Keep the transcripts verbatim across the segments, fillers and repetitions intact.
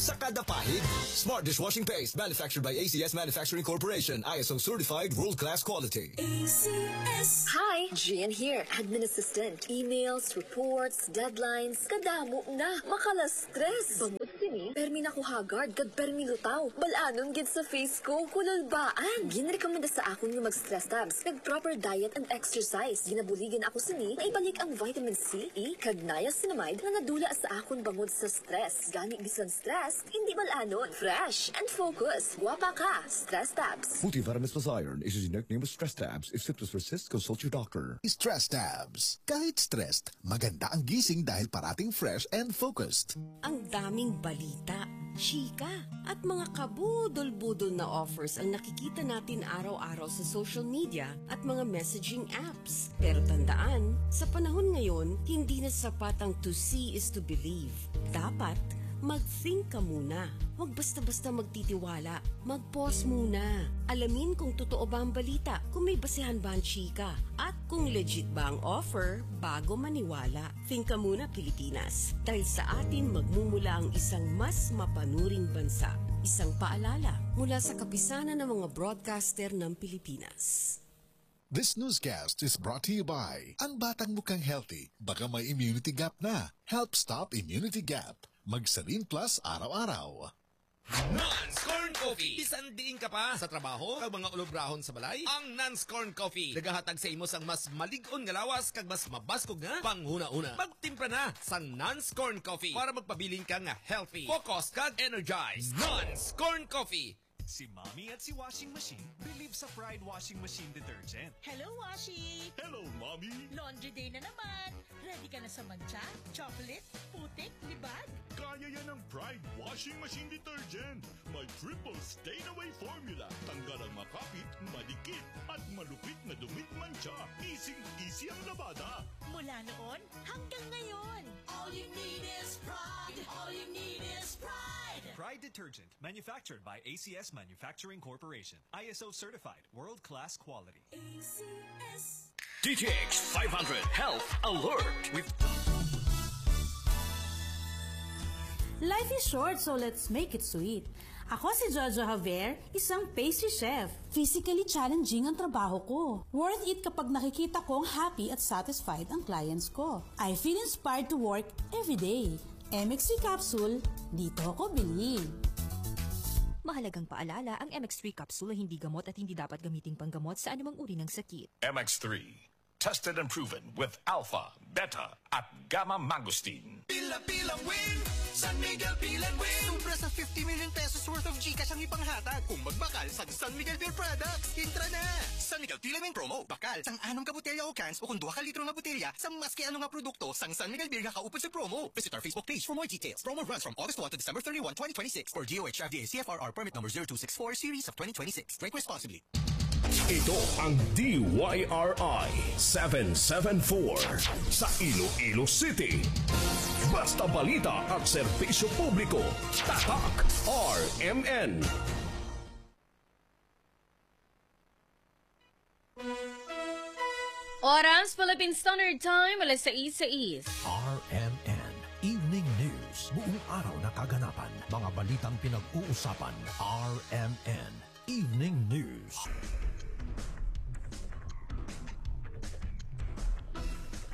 Sa kada pahid. Smart dishwashing paste, manufactured by A C S Manufacturing Corporation, I S O certified, world-class quality. A C S. Hi, Gian here, admin assistant. Emails, reports, deadlines, kadamo na, makala-stress. Bangod sini, permi na ko haggard kag permi lutaw. Bal-anon gid sa face ko, kululbaan. Ginrekomenda sa akon nga mag-stress tabs, nag-proper diet and exercise. Ginabuligan ako sini nga ibalik ang vitamin C, E, kag niacinamide nga nadula sa akon bangod sa stress. Gani bisan stress, hindi bal-anon. Fresh and focus. Guwapa ka. Stress tabs. Multivitamins plus iron is a generic name of stress tabs. If symptoms persist, consult your doctor. Stress tabs. Kahit stressed, maganda ang gising dahil parating fresh and focused. Ang daming balita, chika, at mga kabudol-budol na offers ang nakikita natin araw-araw sa social media at mga messaging apps. Pero tandaan, sa panahon ngayon, hindi na sapat ang to see is to believe. Dapat, mag-think ka muna. Huwag basta-basta magtitiwala. Mag-pause muna. Alamin kung totoo ba ang balita, kung may basehan ba ang chika, at kung legit ba ang offer bago maniwala. Think ka muna, Pilipinas. Dahil sa atin magmumula ang isang mas mapanuring bansa. Isang paalala mula sa Kapisanan ng mga Broadcaster ng Pilipinas. This newscast is brought to you by Ang batang mukhang healthy, baka may immunity gap na. Help stop immunity gap. Magsarin Plus araw-araw. Nans Corn Coffee. Bisan diin ka pa, sa trabaho, kag mga ulobrahon sa balay, ang Nans Corn Coffee nagahatag sa imo sang mas malig-on nga lawas kag mas mabaskog nga panghunahuna. Magtimpla na sang Nans Corn Coffee para magpabilin ka nga healthy, focus, kag energized. Nans Corn Coffee. Si Mommy at si Washing Machine believe sa Pride Washing Machine Detergent. Hello, Washi! Hello, Mommy! Laundry day na naman! Ready ka na sa mantsa, chocolate, putik, libag? Kaya yan ng Pride Washing Machine Detergent. May triple stain away formula. Tanggal ang makapit, madikit, at malupit na dumi, mantsa. Easing-easy ang labada. Mula noon hanggang ngayon. All you need is Pride. All you need is Pride. Pride Detergent, manufactured by A C S Manufacturing Corporation. I S O certified, world-class quality. A C S. D T X five hundred Health Alert with Life is short, so let's make it sweet. Ako si Jojo Javier, isang pastry chef. Physically challenging ang trabaho ko. Worth it kapag nakikita kong happy at satisfied ang clients ko. I feel inspired to work every day. M X three capsule, dito ako bilib. Mahalagang paalala, ang M X three capsule ay hindi gamot at hindi dapat gamiting panggamot sa anumang uri ng sakit. M X three, tested and proven with alpha, beta, at gamma mangosteen. Pila-pilang win, San Miguel Pilan Win. Sobra sa fifty million pesos worth of GCash ang ipanghatag kung magbakal sa San Miguel Beer Products. Intra na! San Miguel Pilan Win Promo. Bakal sang anom ka botelya o cans o kung duha ka litro nga botelya sa maski ano nga produkto sang San Miguel Beer nga kaupod sa promo. Visit our Facebook page for more details. Promo runs from August one to December thirty-one, twenty twenty-six, for D O H F D A C F R R permit number zero two six four series of twenty twenty-six. Drink responsibly. Ito ang D Y R I seven seven four sa Iloilo City. Basta balita at serbisyo publiko, tatak R M N. Oras, Philippine Standard Time, alas sais sais. R M N Evening News. Buong araw na kaganapan. Mga balitang pinag-uusapan. R M N Evening News.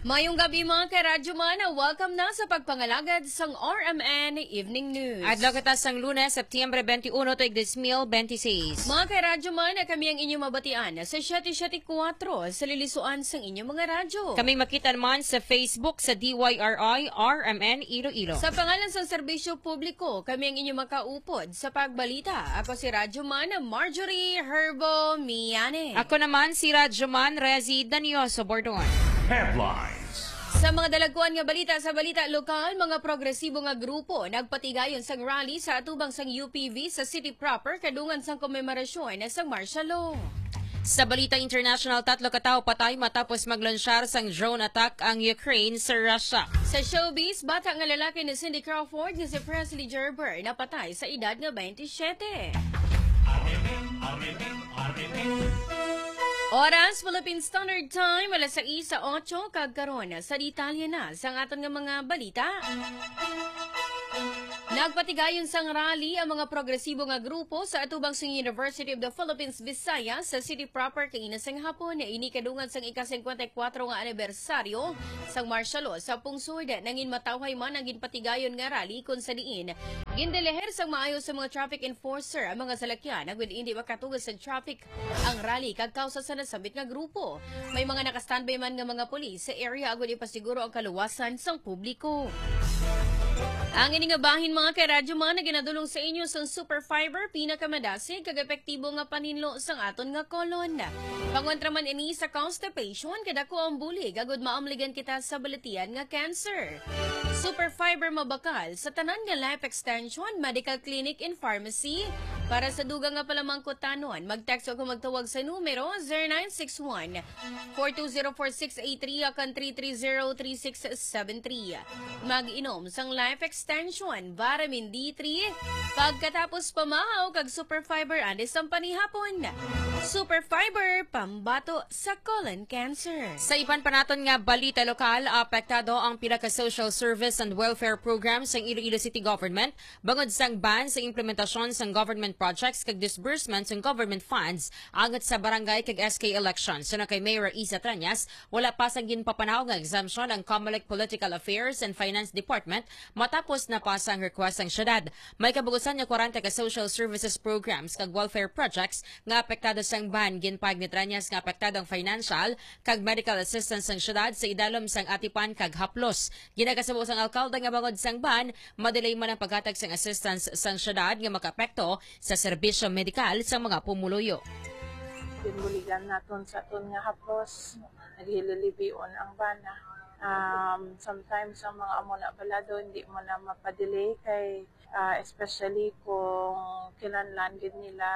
Mayong gabi, mga ka-Radyo Man. Welcome na sa pagpangalagad sang R M N Evening News. Adlaw kita sang Lunes, Septyembre twenty-one, tuig dos mil benti seis. Mga ka-Radyo Man, kami ang inyong mabatian sa siyete siyete kuwatro sa lilisuan sang inyong mga radyo. Kami makita naman sa Facebook sa D Y R I R M N Iloilo. Sa pangalan sang serbisyo publiko, kami ang inyong makaupod sa pagbalita. Ako si Radyo Man Marjorie Herbo Miane. Ako naman si Radyo Man Rezi Danioso Bordon. Headlines. Sa mga dalagkuan nga balita sa balita lokal, mga progresibo nga grupo nagpatigayon sang rally sa atubang sang U P V sa city proper kadungan sang komemorasyon sang martial law. Sa balita international, tatlo ka tawo patay matapos maglansyar sang drone attack ang Ukraine sa Russia. Sa showbiz, bata nga lalaki ni Cindy Crawford nga si Presley Gerber napatay sa edad nga twenty-seven. Oras, Philippine Standard Time, alas sais sa otso, kag karon sa detalye na sang aton nga mga balita. Nagpatigayon sang rally ang mga progresibo nga grupo sa atubang sang University of the Philippines Visayas sa city proper kaina sang hapon. Ini kadungan sang ika-singkwenta y kuwatro nga anibersaryo sang martial law sa pungsod. Nangin matawhay man ang ginpatigayon nga rally, kung sa diin gindelehir sang maayo sa mga traffic enforcer ang mga salakyan agud indi makatugas sa traffic ang rally kag kausa sa nasambit nga grupo. May mga naka-standby man nga mga pulis sa area agud ipasiguro ang kaluwasan sang publiko. Ang ini nga bahin, mga karadyo, man, naginadulong sa inyo sang Super Fiber, pinakamadasig kag epektibo nga paninlo sang aton nga kolon. Pangontra man ini sa constipation, kay dako ang bulig agud maamligan kita sa balatian nga cancer. Super Fiber mabakal sa tanan nga Life Extension Medical Clinic and Pharmacy. Para sa dugang nga palamangkutanon, mag-text o kung magtawag sa numero zero nine six one, four two zero, four six eight three o kan three three zero, three six seven three. Mag-inom sang Life Extension, Vitamin D three, pagkatapos pamahaw kag Super Fiber antes sang panihapon. Super Fiber, pambato sa colon cancer. Sa iban pa naton nga balita lokal, apektado ang pila ka social service and welfare programs sang Iloilo City Government bangod sang ban sa implementasyon sang government projects kag disbursement sang government funds angot sa barangay kag S K elections. Suno kay Mayor Isa Trañas, wala pa sang ginpapanaw nga exemption ang Comelec Political Affairs and Finance Department matapos na pa sang request sang syudad. May kabugusan nga kwarenta ka social services programs kag welfare projects nga apektado sang ban. Ginpahayag ni Trañas nga apektado ang financial kag medical assistance sang syudad sa idalom sang atipan kag haplos. Ginakasubo sang alkalde nga bangod sang ban, madelay man ang paghatag sang assistance sang syudad nga makaapekto sa serbisyo medikal sang mga pumuluyo. Ginbuligan naton sa aton nga haplos, naghililibion ang bana. Um, sometimes ang mga amo na balado, hindi mo na mapadelay kay, ah, especially kung kinahanglan gid nila,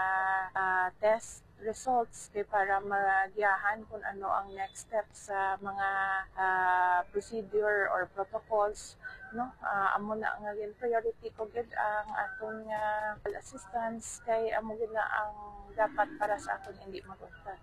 ah, test results kay para magiyahan kung ano ang next step sa mga, ah, procedure or protocols, no? Ah, amo na nga gin priority ko gid ang aton nga assistance kay amo gid na ang dapat para sa aton hindi mag-untat.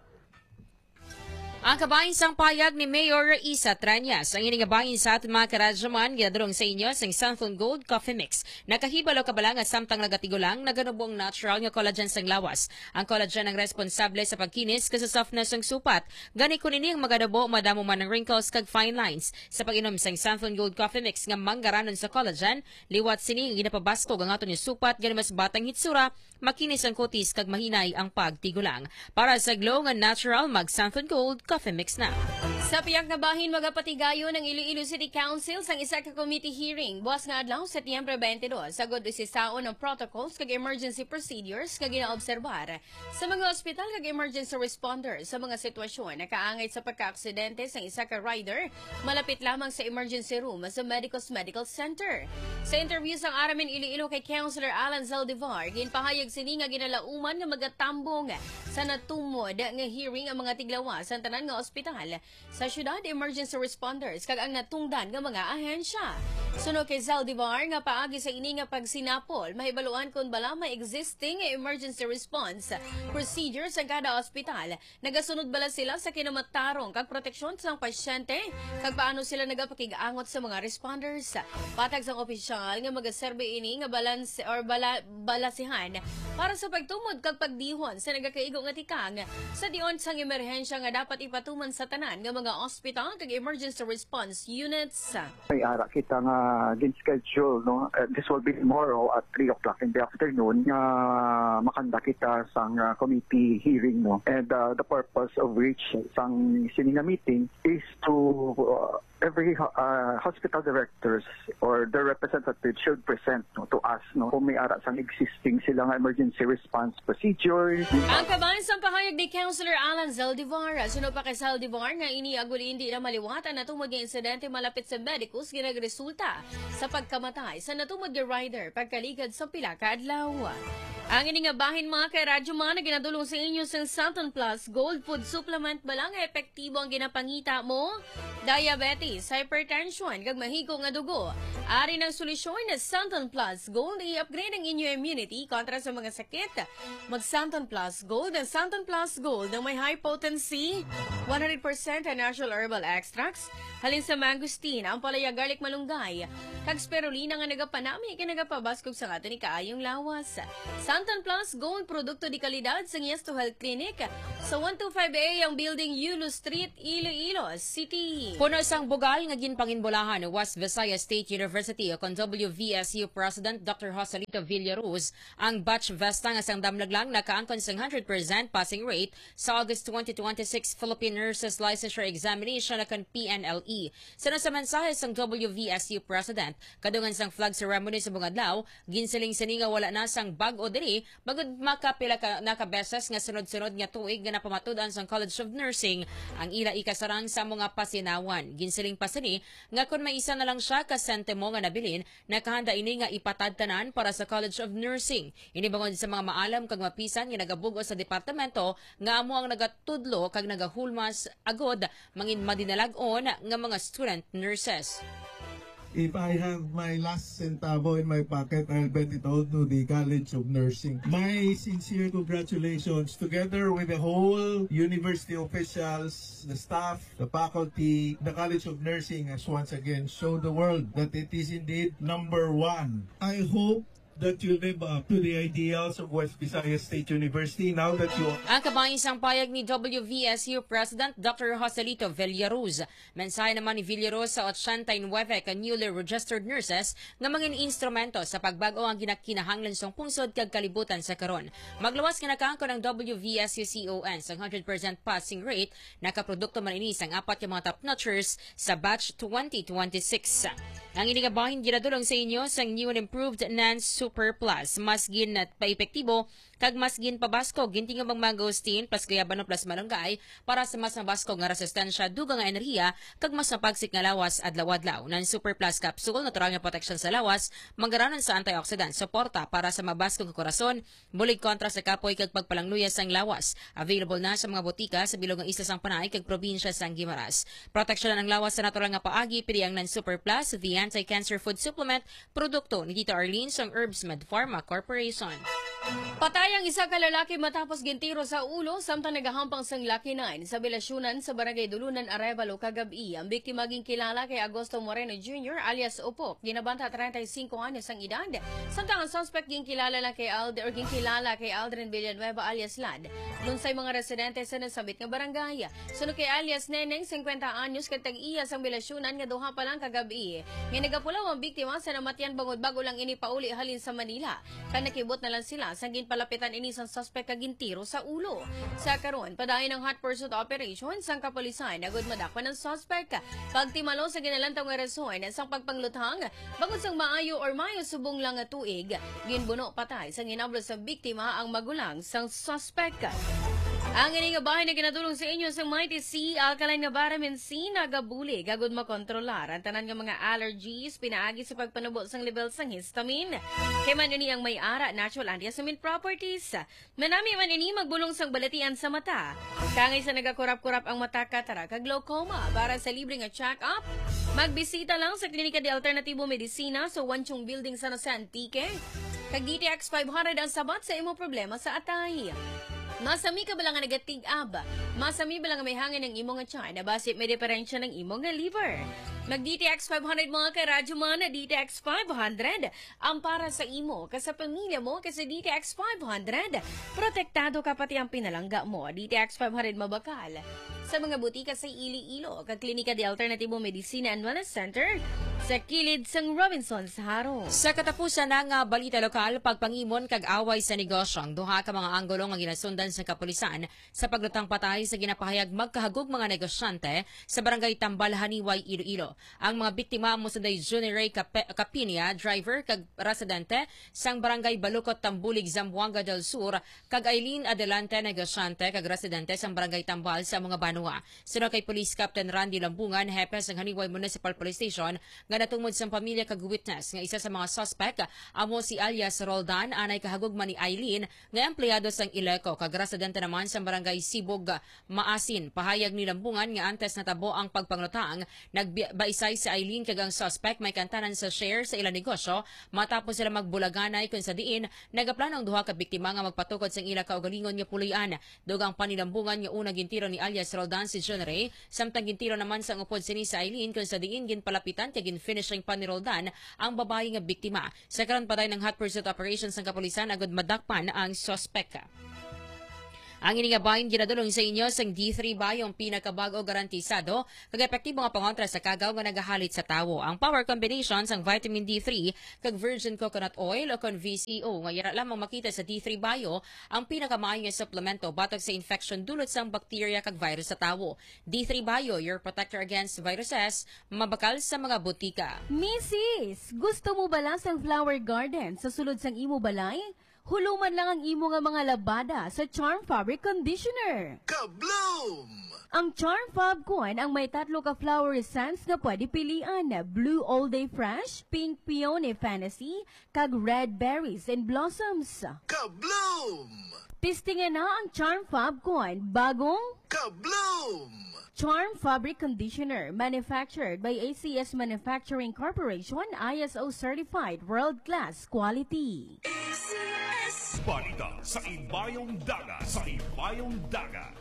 Ang kabahin sang pahayag ni Mayor Isa Trañas. Ang ini nga bahin sa aton mga karadyoman ginadulong sa inyo sang Santhon Gold Coffee Mix. Nakahibalo ka bala nga samtang nagatigulang, naganubo ang natural nga collagen sang lawas. Ang collagen ang responsable sa pagkinis kag sa softness sang supat. Gani, kun ini ang maganubo, madamo man ang wrinkles kag fine lines. Sa pag-inom sang Santhon Gold Coffee Mix nga manggaranon sa collagen, liwat sini nga ginapabaskog ang aton nga supat, gani mas bata ang hitsura, makinis ang kutis kag mahinay ang pagtigulang. Para sa glow nga natural, mag Santhon Gold Coffee Mix na. Sa pihak nga bahin, magapatigayon ang Iloilo City Council sang isa ka committee hearing buas nga adlaw, Setyembre twenty-two, agud usisaon ang protocols kag emergency procedures nga ginaobserbar sa mga ospital kag emergency responders sa mga sitwasyon nakaangay sa pagkaaksidente sang isa ka rider malapit lamang sa emergency room sa Medicus Medical Center. Sa interview sang R M N Iloilo kay Councilor Alan Zaldivar, ginpahayag sini nga ginalauman nga magatambong sa natumod nga hearing ang mga tiglawas sang tanan nga ospital sa syudad, emergency responders, kag ang natungdan nga mga ahensya. Suno kay Zaldivar nga paagi sa ini nga pagsinapol, mahibaluan kon bala may existing emergency response procedures ang kada ospital. Nagasunod bala sila sa kinamatarong kag proteksyon sang pasyente, kag paano sila nagapakig-angot sa mga responders. Patag sang opisyal nga magaserbi ini nga balance or bala-, balasihan para sa pagtumod kag pagdihon sa nagakaigo nga tikang sa tion sang emerhensya nga dapat ipatuman sa tanan nga mga ospital kag emergency response units. May ara kita nga gin-schedule, no? Uh, this will be tomorrow at three o'clock in the afternoon nga makanda kita sang, uh, committee hearing, no? And, uh, the purpose of which sang sini nga meeting is to, uh, every ho-, uh, hospital directors or their representatives should present, no, to us, no, kung may ara sang existing sila nga emergency response procedures. Ang kaban sang pahayag ni Councilor Alan Zaldivar. Suno pa kay Zaldivar nga ini agud indi na maliwat ang natumod nga insidente malapit sa Medicus nga nagresulta sa pagkamatay sa natumod nga rider pagkaligad sa pila ka adlaw. Ang ini nga bahin, mga karadyo, mga naginadulong sa inyo sang Santon Plus Gold Food Supplement, bala nga epektibo ang ginapangita mo. Diabetes diabetes, hypertension, kag mahigo nga dugo. Ari ang solusyon na Santon Plus Gold, i-upgrade ang inyo immunity kontra sa mga sakit. Mag Santon Plus Gold, ang Santon Plus Gold na may high potency, one hundred percent natural herbal extracts, halin sa mangosteen, ampalaya, garlic, malunggay, kag spirulina nga nagapanami kag nagapabaskog sa aton kaayong lawas. Santon Plus Gold, produkto de kalidad sang Yes to Health Clinic, sa one two five A ang building, Yulo Street, Iloilo City. Puno sang bugal nga ginpanginbulahan ni West Visayas State University o kon W V S U President Doctor Joselito Villaruz ang batch vesta nga sang damlag lang nakaangkon sang hundred percent passing rate sa August twenty twenty-six Philippine Nurses Licensure Examination o kon P N L E. Suno sa mensahe sang W V S U President, kadungan sang flag ceremony sa adlaw, ginsiling sini nga wala na sang bag-o diri, bangod makapila ka, na ka beses nga sunod-sunod nga tuig nga napamatud-an sang College of Nursing ang ila ikasarang sa mga pasinawan. Ginsiling pa sini nga kon may isa na lang siya ka sentimo nga nabilin, nakahanda ini nga ipatad tanan para sa College of Nursing. Ini bangod sa mga maalam kag mapisan nga nagabug-os sa departamento nga amo ang nagatudlo kag nagahulmas agod mangin madinalag-on nga mga student nurses. If I have my last centavo in my pocket, I'll bet it all to the College of Nursing. My sincere congratulations, together with the whole university officials, the staff, the faculty, the College of Nursing has once again showed the world that it is indeed number one. I hope that you live up to the ideals of West Visayas State University now that you are Ang kabahin sang payag ni W V S U President Doctor Joselito Villaruz. Mensahe naman ni Villaruz sa ochenta y nuebe ka newly registered nurses nga mangin instrumento sa pagbag-o ang ginakinahanglan sang pungsod kag kalibutan sa karon. Magluwas nga nakaangkon ang W V S U C O N sang hundred percent passing rate, nakaprodukto man ini sang apat ka mga top notchers sa batch twenty twenty-six. Ang ini nga bahin ginadulong sa inyo sang new and improved Nan Super Plus. Mas gin paepektibo kag mas ginpabaskog gintingog ang mangosteen plus guayabano plus malunggay para sa mas mabaskog nga resistensya, dugang nga enerhiya, kag mas mapagsik nga lawas adlaw-adlaw. Nan Super Plus Capsule, natural nga proteksyon sa lawas, manggaranon sa antioxidant, suporta para sa mabaskog nga korason, bulig kontra sa kapoy kag pagpalangluya sang lawas. Available na sa mga botika sa bilog nga isla sang Panay kag probinsya sang Guimaras. Proteksyonan ang lawas sa natural nga paagi, pili ang Nan Super Plus, the anti-cancer food supplement, produkto ni Tita Arlene sang Herbs Med Pharma Corporation. Patay ang isa ka lalaki matapos gintiro sa ulo samtang nagahampang sang lakinan sa Bilasyunan sa Barangay Dulunan, Arevalo, kagab-i. Ang biktima ginkilala kay Agosto Moreno Junior alias Upok. Ginabanta treinta y cinco anyos ang edad, samtang ang suspect ginkilala lang kay Ald or ginkilala kay Aldrin Villanueva alias Lad. Lunsay mga residente sa nasambit nga barangay. Suno kay alias Neneng, singkwenta anyos, kag tag-iya sang Bilasyunan nga duha pa lang kagab-i, nga nagapulaw ang biktima sa namatyan bangod bag-o lang ini pauli halin sa Manila. Kag nakibot na lang sila sang ginpalapitan ini sang suspect kag gintiro sa ulo. Sa karon, padayon ang hot pursuit operation sang kapulisan agud madakpan ang suspect. Pagtimalo sa ginalantaw nga rason sang pagpangluthang, bangod sang maayo or maayo subong lang nga tuig, ginbuno patay sang hinablo sa biktima ang magulang sang suspect. Ang ini nga bahin nga ginadulong sa inyo sang Mighty C, alkaline nga vitamin C, nagabulig agud makontrolar ang tanan nga mga allergies pinaagi sa pagpanubo sang level sang histamine. Kay man ini ang may ara natural antihistamine properties. Manami man ini magbulong sang balatian sa mata. Kangay sa nagakurap-kurap ang mata, cataract kag glaucoma. Para sa libre nga check-up, magbisita lang sa Klinika de Alternatibo Medicina sa Wanchong Building, San Jose, Antique. Kag D T X five hundred ang sabat sa imo problema sa atay. Masami ka bala nga nagatig-ab? Masami bala nga may hangin ang imo nga tiyan? Basi may diferensya ng imo nga liver. Mag D T X five hundred, mga ka-Radyo Man, D T X five hundred ang para sa imo, kag sa pamilya mo, kay sa D T X five hundred, protektado ka pati ang pinalangga mo. D T X five hundred mabakal sa mga butika sa Iloilo, kag Klinika de Alternatibo Medicina and Wellness Center sa kilid sang Robinsons Jaro. Sa katapusan na nga balita lokal, pagpangimon kag away sa negosyo ang duha ka mga anggulo nga ginasundan sa kapulisan sa paglutang patay sa ginapahayag magkahagug mga negosyante sa Barangay Tambal, Janiuay, Iloilo. Ang mga biktima amo sunday Junior Ray Cape-, Capinia, driver kag residente sang Barangay Balukot, Tambulig, Zamboanga del Sur, kag Eileen Adelante, negosyante kag residente sang Barangay Tambal sa mga banwa. Suno kay Police Captain Randy Lambungan, hepe sang Janiuay Municipal Police Station, nga Natungod sang pamilya kag witness nga isa sa mga suspect amo si alias Roldan, anay kahagugma ni Eileen nga empleyado sang Ileco kag residente naman sang barangay Sibog Maasin. Pahayag ni Lambungan nga antes natabo ang pagpanglutang, nagbaisay si Eileen kag ang suspect may kantanan sa share sa ilang negosyo matapos sila magbulaganay, kung sa diin nagaplano ang duha ka biktima nga magpatukod sang ila kaugalingon nga puloy-an. Dugang pa ni Lambungan nga una gintiro ni alias Roldan si John Ray, samtang gintiro naman sang upod sini si Eileen, kung sa diin ginpalapitan kag gin-finishing pa ni Roldan ang babayi nga biktima. Sa karon, patay ang hot pursuit operation sang kapulisan agud madakpan ang suspek. Ang ini nga bahin ginadulong sa inyo sang D three Bio, ang pinakabag-o, garantisado kag epektibo nga pangontra sa kagaw nga nagahalit sa tawo. Ang power combination sang vitamin D three kag virgin coconut oil o kon V C O nga yara lamang makita sa D three Bio, ang pinakamaayo nga suplemento batok sa infection dulot sang bakterya kag virus sa tawo. D three Bio, your protector against viruses, mabakal sa mga butika. Misis, gusto mo bala sang flower garden sa sulod sang imo balay? Huluman lang ang imo nga mga labada sa Charm Fabric Conditioner. Kabloom! Ang Charm Fab Kuan ang may tatlo ka flower scents nga pwede pilian: Blue All Day Fresh, Pink Peony Fantasy, kag Red Berries and Blossoms. Kabloom! Testingan na ang Charm Fab Kuan, bagong Kabloom! Charm Fabric Conditioner, manufactured by A C S Manufacturing Corporation, I S O certified, world-class quality. Balita sa Ibayong Dagat, sa Ibayong Dagat.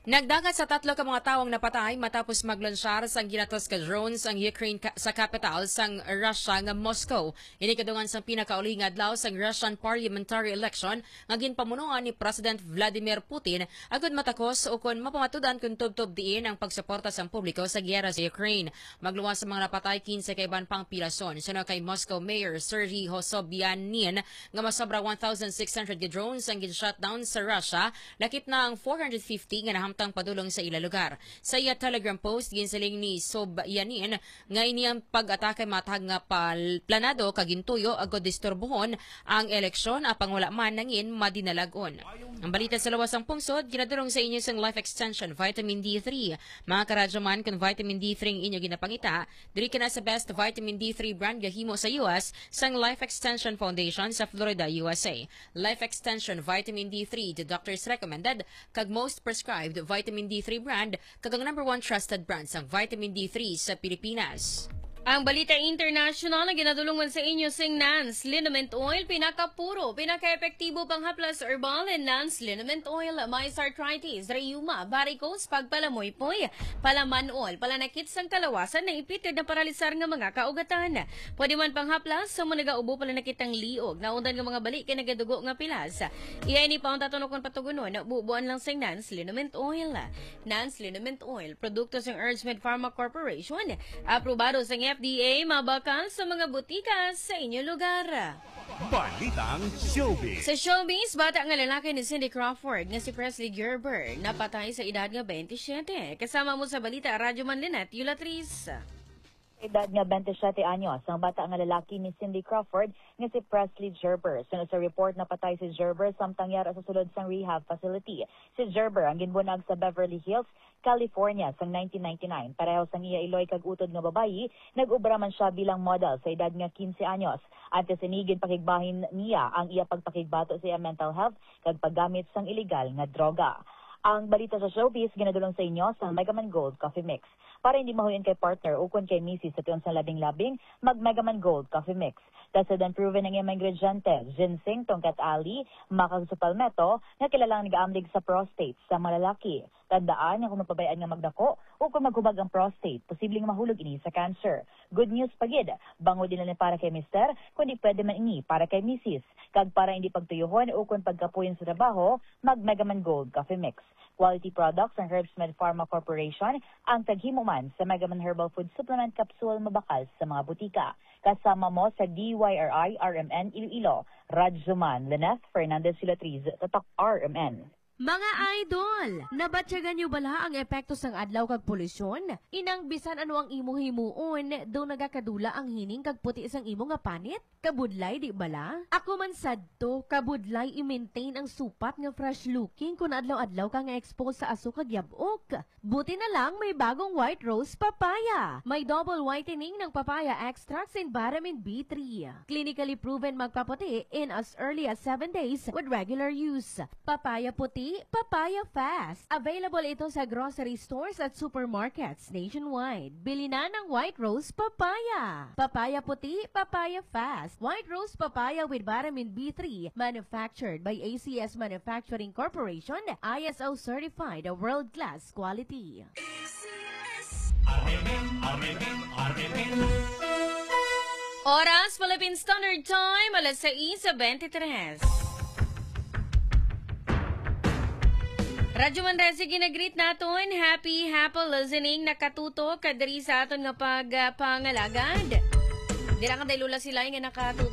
Nagdangat sa tatlo ka mga tawo ang napatay matapos maglunsyar sang ginatos ka drones ang Ukraine ka-, sa kapital sang Russia nga Moscow. Ini kadungan sang pinakauli nga adlaw sang Russian parliamentary election nga ginpamunuan ni President Vladimir Putin agud matakos ukon mapamatud-an kon tubtob diin ang pagsuporta sang publiko sa giyera sa Ukraine. Magluwas sa mga napatay, kinse ka iban pang pila son. Suno kay Moscow Mayor Serhiy Sobyanin nga masobra one thousand six hundred ka drones ang gin-shutdown sa Russia, lakip na ang four hundred fifty nga nahamtang padulong sa ila lugar. Sa iya Telegram post, ginsiling ni Sobyanin nga ini ang pag-atake matag nga pal-, planado kag gintuyo agud disturbuhon ang eleksyon, apang wala man nangin madinalag-on. Ang balita sa lawas sang pungsod ginadulong sa inyo sang Life Extension Vitamin D three. Mga karadyo man, kon vitamin D three ang inyo ginapangita, diri ka na sa best vitamin D three brand nga himo sa U S sang Life Extension Foundation sa Florida, U S A. Life Extension Vitamin D three, the doctor's recommended kag most prescribed vitamin D three brand, kag ang number one trusted brand sang vitamin D three sa Pilipinas. Ang balita international ang ginadulungan sa inyo sing Nans Liniment Oil, pinakapuro, pinakaepektibo panghaplas herbal and Nans Liniment Oil, may arthritis, rheuma, varicose, pagpalamoypoy, palamanol, palanakit sang kalawasan, naipit kag naparalisar nga mga kaugatan. Pwede man panghaplas sa mga nagaubo, palanakit ang liog, naundan nga mga bali kay nagadugo nga pilas. Iya ini pa ang tatunokon patugunon, bubuan lang sing Nans Liniment Oil. Nans Liniment Oil, produkto sang Herdsmed Pharma Corporation, aprobado sang F D A, mabakal sa mga butika sa inyo lugar. Balitang Showbiz. Sa showbiz, bata nga lalaki ni Cindy Crawford nga si Presley Gerber napatay sa edad nga twenty-seven. Kasama mo sa balita, Radyo Man Lynette Yulatris. Edad nga twenty-seven anyos ang bata nga lalaki ni Cindy Crawford nga si Presley Gerber. Suno sa report, napatay si Gerber samtang yara sa sulod sang rehab facility. Si Gerber ang ginbunag sa Beverly Hills, California sang nineteen ninety-nine. Pareho sang iya iloy kag utod nga babayi, nag-obra man sia bilang model sa edad nga quince anyos. Antes ini, ginpakigbahin niya ang iya pagpakigbato sa iya mental health kag paggamit sang iligal nga droga. Ang balita sa showbiz ginadulong sa inyo sa Megaman Gold Coffee Mix. Para hindi mahuyon kay partner ukon kay misis sa tion sang labing-labing, mag Megaman Gold Coffee Mix. Tested and proven ang iyang mga ingrediente: ginseng, tongkat ali, maca kag palmetto, nga kilalang nagaamlig sa prostate sa mga lalaki. Tandaan nga kung mapabay-an nga magdako o kung maghubag ang prostate, posibleng mahulog ini sa cancer. Good news pa gid, bangod ina ni para kay mister, kundi pwede man ini para kay misis. Kag para hindi pagtuyuhon ukon pagkapuyon sa trabaho, mag Megaman Gold Coffee Mix. Quality products ang Herbsmed Pharma Corporation ang taghimo man sa Megaman Herbal Food Supplement Capsule, mabakal sa mga butika. Kasama mo sa D Y R I R M N Iloilo, Radyo Man, Lynette Fernandez Filatriz, Tatak R M N. Mga idol, nabatyagan niyo bala ang epekto sang adlaw kag polusyon? Inang bisan ano ang imo himuon, daw nagakadula ang hining kag puti sang imo nga panit? Kabudlay, di bala? Ako man sadto, kabudlay i-maintain ang supat nga fresh looking kun adlaw-adlaw ka nga expose sa aso kag yab-ok. Buti na lang may bagong White Rose Papaya. May double whitening ng papaya extracts and vitamin B three. Clinically proven magpaputi in as early as seven days with regular use. Papaya puti, papaya fast. Available ito sa grocery stores at supermarkets nationwide. Bili na ng White Rose Papaya. Papaya puti, papaya fast. White Rose Papaya with vitamin B three. Manufactured by A C S Manufacturing Corporation. I S O certified, world-class quality. R M N, R M N, R M N. Oras, Philippine Standard Time, alas sais bente tres. Radyo Manresa, ginagreet naton. Happy, happy listening. Nakatutok ka diri sa aton nga pagpangalagad. Dira ka day Lola Silay nga nakatutok.